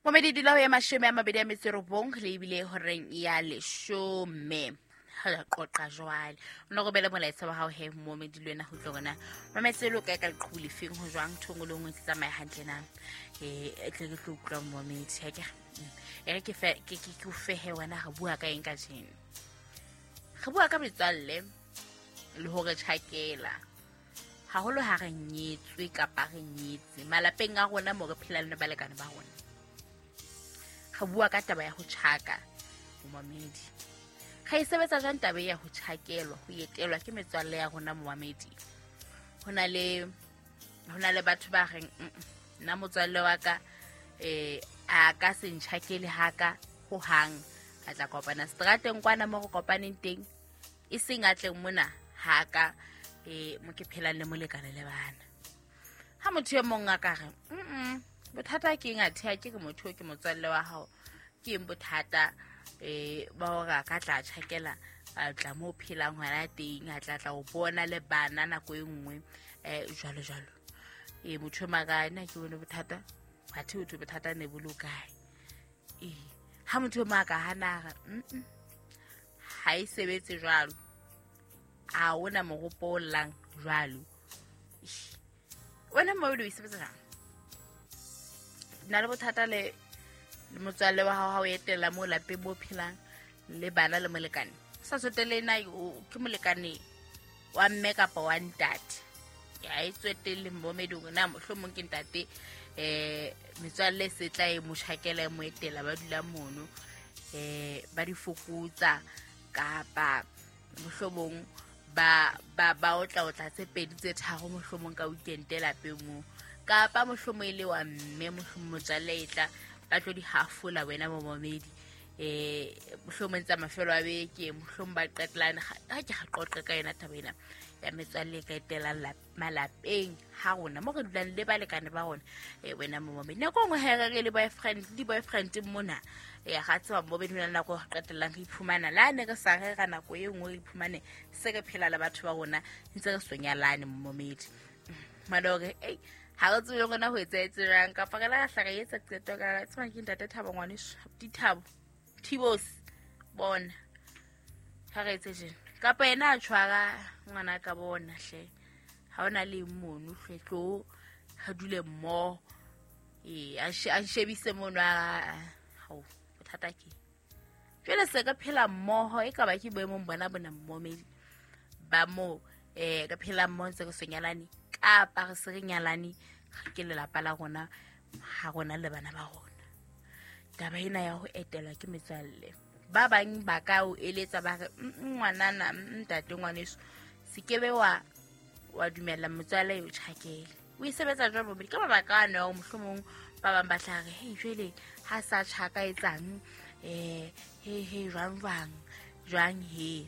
Momedi dula ho ya 29 le ebile horeng ya 10. Re qoqa jwale. O no robele molaetsa wa hao he momedi le wena ho tlo rona. Mametse lo kae ka leqhubu lefeng ho jwang thongo le nngwe tse tsamaya hantle na. E tle ke tlo utlwa momedi ha ke. E re ke fe ke ke o fehe wena re bua ka eng ka jeno. Re bua ka metswalle le hore tjhakela. Haholo ha re nyetswe kapa re nyetse malapeng a rona mo re phelang le balekane ba rona. Re bua ka taba ya ho tjhaka momamedi. Re e sebetsa jwang taba ya ho tjhakelwa, ho etelwa ke metswalle ya rona momamedi? Ho na le batho ba reng nna motswalle wa ka a ka se ntjhakele haka ho hang, a tla kopana strateng kwana mo re kopaneng teng, e seng a tleng mona haka mo ke phelang le molekane le bana. Ha motho e mong a ka re bothata ke eng athe ha ke re motho ke motswalle wa hao, ke eng bothata ba hore a ka tla tjhakela a tla mo phelang hona teng, a tla tla o bona le bana nako e nngwe jwalo jwalo. Motho e maka nna ke bone bothata, athe ho thwe bothata ne bo le kae. Ha motho e maka hana re ha e sebetse jwalo, a ona moropo o llang jwalo. Wena mo o e sebetsa jwang? Nna le bothata le motswalle wa hao ha o etela mo lapeng mo phelang le bana le molekane. Sa tsotelle na ke molekane wa mme kapa wa ntate. Ya e tswetelle momedi hore na mohlomong ke ntate metswalle se tla e mo tjhakela e mo etela ba dula mono ba di fokotsa kapa mohlomong ba ba ba otla otla tse pedi tse tharo mohlomong ka weekend lapeng mo, kapa mohlomong e le wa mme mohlomong motswalle e tla ba tlo di hafola wena momamedi mohlomong tsa mafelo a beke, mohlomong ba qetelane. Ha ke ga qoqe ka yona taba ena ya metswalle e ka etelang malapeng ha rona mo re dulang le balekane ba rona. Wena momamedi nako nngwe ha re le boyfriend di boyfriend mona ga tseba mo be dula nako re qetellang re iphumana la ne re sa rera nako e nngwe re iphumane se re phela le batho ba rona ntse re sonyalane momamedi. Malore ha re tsebe rona ho etsahetse jwang kapa re la hla re etsa qeto ka tseba ke ntate Thabo ngwaneso Dithabo Thibos bona ha re etse jeno kapa yena a tshwara ngwana ka bona hle ha ona le mono hle tlo ha dule mmoho a shebise mono a hao bothata ke jwale se ka phela mmoho e ka ba ke boemong bona bona mmomedi ba mo ka phela mmoho ntse re sonyalane kapa re se re nyalane ke lelapa la rona ha rona le bana ba rona. Taba ena ya ho etelwa ke metswalle ba bang ba ka o eletsa ba re ngwanana ntate ngwaneso se kebe wa dumella motswalle o tjhakele. O e sebetsa jwang momedi? Ka mabaka ano ya mohlomong ba bang ba tla re hei jwale ha sa tjhaka etsang he he jwang jwang jwang he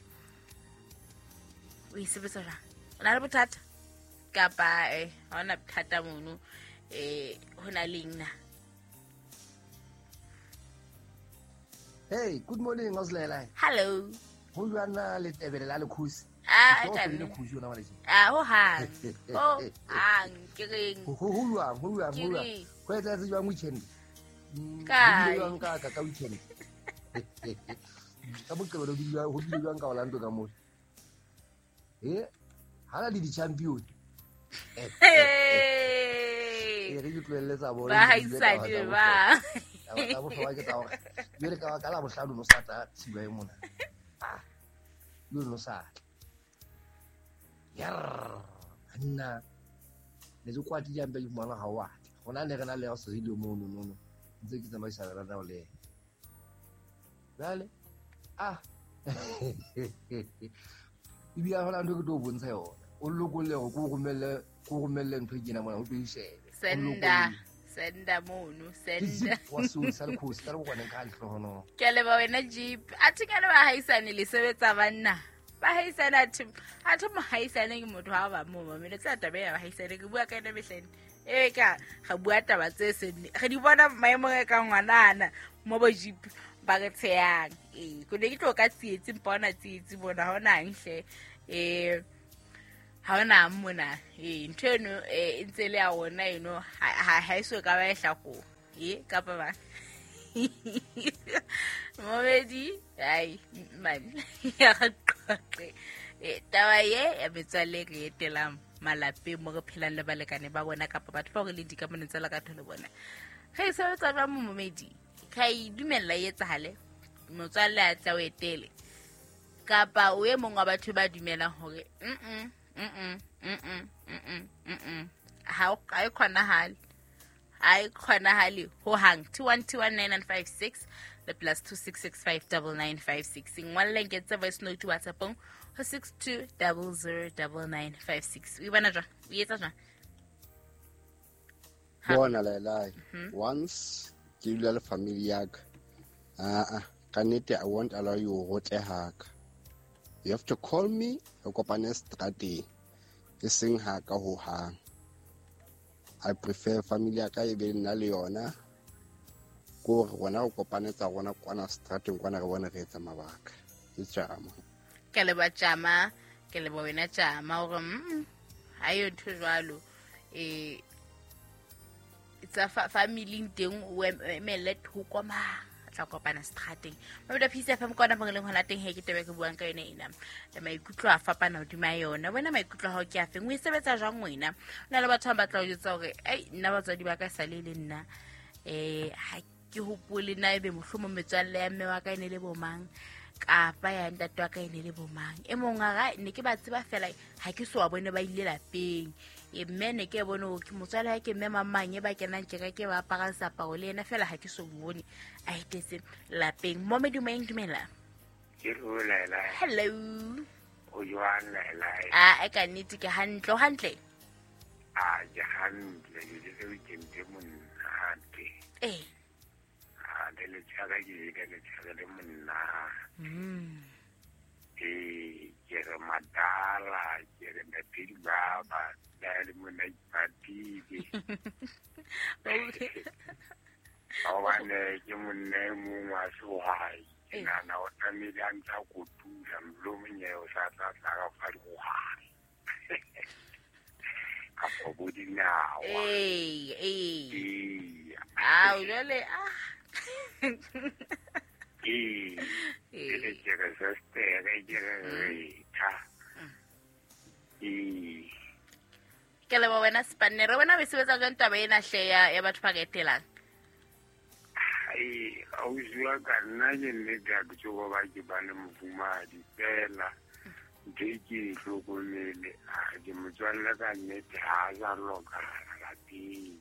o e sebetsa jwang? O na le bothata kapa ha ona bothata mono ho na le eng na? Hey, good morning, Oslela. Hello. Ho jwana le tebele la lekhosi. Ho hang. Ho hang ke reng. Ho jwang, ho jwang, ho jwang. Ho etsahetse jwang weekend? Ka jwang ka weekend. Ka Moqebelo ho bile jwang ka Orlando ka mo. Ha la di champion. Re ke tlohelle tsa bona. Ba haisane ba. Tsa bohlokwa ke tsa hore jwale ka la bohlano no sa tla tshiba e mona. Yo no sa. Yarr, nna ne ke kwatile hampe ke fumana ha wa. Hona ne re na le se le mono no no. Ntse ke tsamaisa re na le. Jwale ebile hona ntho ke tlo bontsha yona. O lokolle hore ko romelle ntho e kena mona o tlo e shebe. Senda mono senda. Wa so sa le khosi ka le bokwaneng ka lehlohonolo. Ke a leboha wena Jeep. Athe ke a leboha haisane le sebetsa banna. Ba haisane athe mohaisane ke motho ha ba mo mamele tsa taba ya haisane ke bua ka yena mehleng. Ka ga bua taba tse seng re di bona maemong e ka ngwanana mo bo Jeep ba re tsheyang. Ko ne ke tlo ka tsietsi mpona tsietsi bona hona hle. Ha ona mona ntho eno e ntse le ya rona eno ha e so ka ba e hlakoha. E kapa ba momedi ai man ya re qoqe. Taba ye ya metswalle re etelang malapeng mo re phelang le balekane ba bona kapa batho bao re leng dikamanong tsa lerato le bona. Ge e sebetsa jwang mo momedi? Ka e dumella e etsahale motswalle a tla o etele kapa o e mong wa batho ba dumelang hore ha e kgonahale. Ha e kgonahale ho hang. 2121956 le +26659956. Ngwalleng ke tse voice note WhatsAppong ho 62009956. O e bona jwang? O etsa jwang? Bona Laelai, once ke dula le family ya ka, ka nnete I won't allow you ho tle haka. You have to call me, re kopane strateng, e seng haka ho hang. I prefer family ya ka e be nna le yona, ko re rona re kopane tsa rona kwana strateng kwana re bone re etsa mabaka. Ke tjama. Ke leboha tjama, ke leboha wena tjama hore ha yo ntho jwalo. Tsa family teng o emelle thoko ma tla kopana strateng. Mabeda Peace FM kwana mo leng hona teng he ke tebe ke buang ka yona ena. Le maikutlo a fapana hodima yona. Wena maikutlo a hao ke a feng? O e sebetsa jwang wena? O na le batho ba batla ho jwetsa hore ai nna batswadi ba ka sale le nna. Ha ke hopole na ebe mohlomong metswalle ya mme wa ka e ne le bo mang kapa ya ntate wa ka e ne le bo mang. E mong a re ne ke ba tseba fela ha ke so wa bone ba ile lapeng. Mme ne ke bone hore ke motswalle ha ke mme mang e ba kenang kereke ba apara seaparo le yena fela ha ke so bone a etetse lapeng. Momedi moyeng dumela. Hello Laelai. Hello. O jwang Laelai? A ka nnete ke hantle, o hantle? A ke hantle, ke le weekend e monate. A le letshaka ke le letshaka le monate. Ke re madala, ke re ntate baba, la le mona ipatile. Hobane ke monna e mong wa sehwai. Ke nahana o tlamehile a ntsa kotula, mohlomong yena o sa tla tla ka fa dihwai. Kapa bo dinawa. Ao, jwale, Ke re ke re sestere, ke re retha. Ke leboha wena Spanere. Wena o e sebetsa jwang taba ena hle ya batho ba ka etelang? Ai, ausi wa ka nna ke nnete ha ke tsebe ba ke ba le mofumahadi fela. Ntho e ke e hlokomele, a ke motswalle ka nnete ha a sa lokahala lapeng.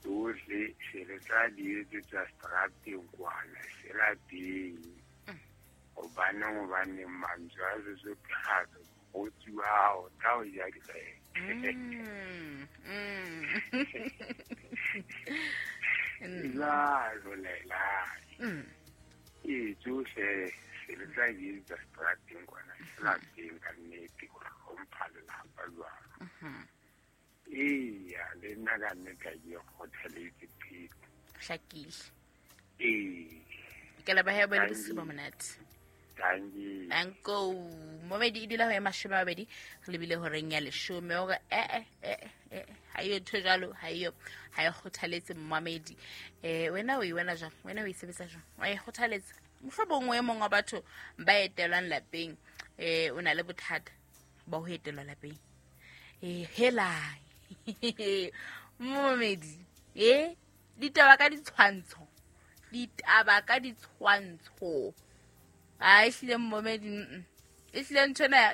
Tsohle se re tla di etsetsa strateng kwana, se lapeng. Hobaneng mantswe a Sesotho a re mokgotsi wa hao tla o ja dikgetho. Jwalo Laelai. Tsohle se re tla di etsetsa strateng kwana, se lapeng ka nnete, ho hlompha lelapa jwalo. Eya, le nna ka nnete ha ke kgothaletse pheko. Hlakile. Ke leboha bo le bosiu bo monate. Dankie. Danko. Momedi e dula ho ya 20 re lebile horeng ya 10 hore ha eyo ntho jwalo, ha eyo, ha e kgothaletse mmamedi. Wena o e wena jwang? Wena o e sebetsa jwang? Wa e kgothaletsa? Mohlomong e mong wa batho ba etelwang lapeng, o na le bothata ba ho etelwa lapeng. Hela. Momedi, ditaba ka ditshwantsho. Ditaba ka ditshwantsho. A ehlile momedi, ehlile ntho ena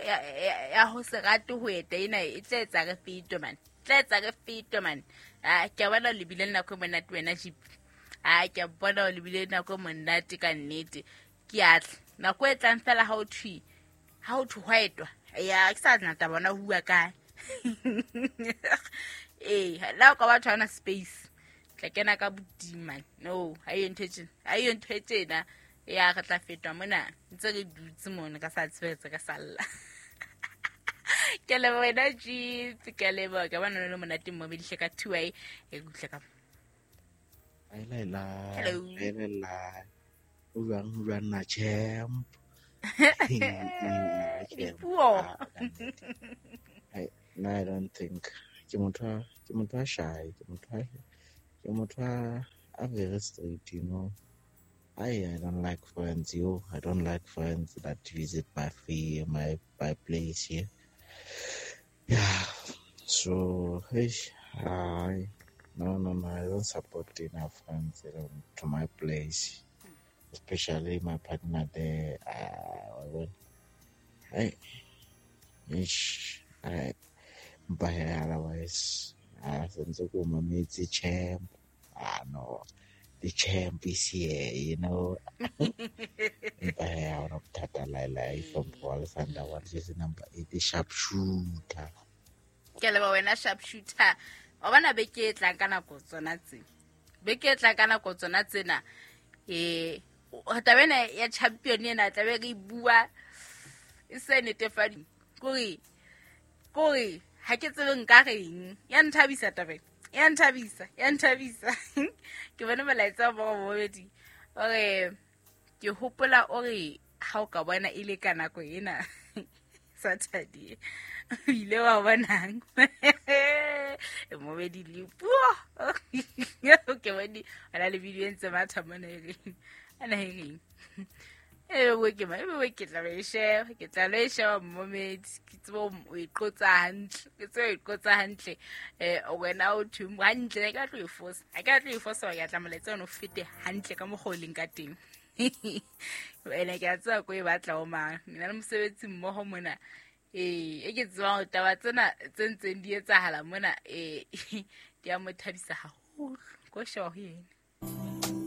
ya ho se rate ho eta ena e tla etsa re fetwe man. Tla etsa re fetwe man. A ke a bona o lebile nako e monate wena Jeep. A ke a bona o lebile nako e monate ka nnete. Ke a tla. Nako e tlang fela ha o thwe, ha o thwe hwa etwa. Ya ke sa nna taba bona ho bua kae. La o ka batho ha ona space. Tla kena ka bodimo man. No, ha eyo ntho e tjena. Ha eyo ntho e tjena. Ya re tla fetwa mona. Ntse re dutse mona ka sa tsebetse ka salla. Ke leboha wena Jeep, ke leboha. Ke bona le monate mmobedi hle ka 2 e kutle ka. Hello. Hello. O jwang, o jwang na champ? Dipuo. No, I don't think. Ke motho a shy, ke motho a I'm very straight, you know. I don't like friends, yo. I don't like friends that visit my free my my place here. Yeah. So hey, I no no no I don't support enough friends, you know, to my place. Especially my partner there. I ish I but otherwise I sentse ko mametse champ. Ah no. The champ is here, you know. Empa he ha hona bothata laelae from Alexander wa jersey number 8 sharp shooter. Ke a leboha wena sharp shooter. Wa bona beke e tlang ka nako tsona tse. Beke e tlang ka nako tsona tsena. Taba ena ya champion ena tlabe re e bua e se netefadi. Kore ha ke tsebe nka reng. Ya nthabisa taba ena. Ya nthabisa, ya nthabisa. Ke bone molaetsa wa bobedi. Ore ke hopola ore ha o ka bona e le ka nako ena Saturday. O ile wa bonang. Mobedi le puo. Ke bone ona le video e ntse matha mona e reng. Ana e reng. E ke ma e ke tla e sheba, ke tla lo e sheba momedi. Ke tsebe o e qotsa hantle, ke tsebe o e qotsa hantle. Wena o thwe hantle, ha ke batla ho e fosa. Ha ke batla ho e fosa hore ke batla molaetsa ona o fete hantle ka mokgwa o leng ka teng. Ene ke a tseba ko e batla ho mang. Nna le mosebetsi mmoho mona. E ke tsebang hore taba tsena tse ntseng di etsahala mona di a mo thabisa haholo. Ko sheba ho yena.